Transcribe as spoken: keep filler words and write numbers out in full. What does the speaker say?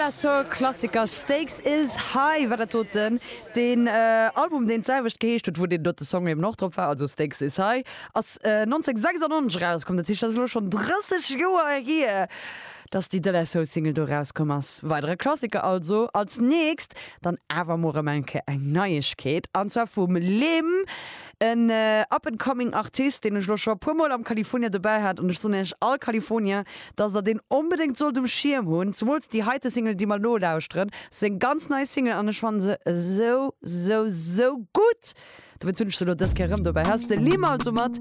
De La Soul Klassiker Stakes is High war dat doten. Den äh, Album, deen d'selwecht geheescht huet, wou deen dote Song eben och drop war, also Stakes is High, ass äh, neunzénghonnertsechsundneunzeg rauskomm. Dat heescht, dat ass elo schonn drësseg Joer hier, dass déi De La Soul Single do rauskomm ass. Weidere Klassiker also. Als nächst dann awer mol erëm eng Kéier eng Neiegkeet, an zwar vum Lim, en äh, up-and-coming Artist, deen ech lo scho puer Mol am California dobäi hat, an ech soen iech all California, dass der deen onbedéngt sollt um Schierm hunn, zemools déi heite Single, déi mer lo lauschteren. Seng ganz nei Single, an ech fanne se sou sou sou gutt. Dowéinst hunn ech se lo dës Kéier rëm dobäi. Hei ass de Lim also mat